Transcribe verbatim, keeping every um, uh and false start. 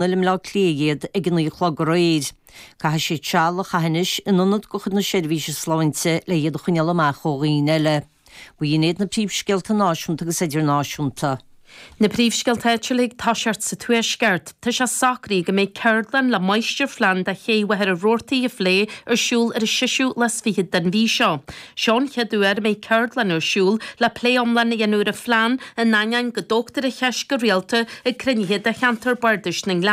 i mBleá Cliath iad ag a naoi a chlog aréir. Caithfidh siad seal a chaitheamh anois in ionad de chuid na seirbhíse sláinte le iad a choinneáil amach ó dhaoine eile. B'in iad na príomhscéalta náisiúnta agus idirnáisiúnta. Na príomhscéalta áitiúla ag toiseacht sa Tuaisceart, tá sé socraithe go mbeidh ceardlann le máistirphlean do ché Mhachaire Rabhartaigh a phlé ar siúl ar an seisiú lá is fichead den mhí seo. Seo an chéad uair a mbeidh ceardlann ar siúl le plé iomlán a dhéanamh ar an phlean in ainneoin go dtógtar an cheist go rialta ag cruinnithe de cheantar bardais na nGleann.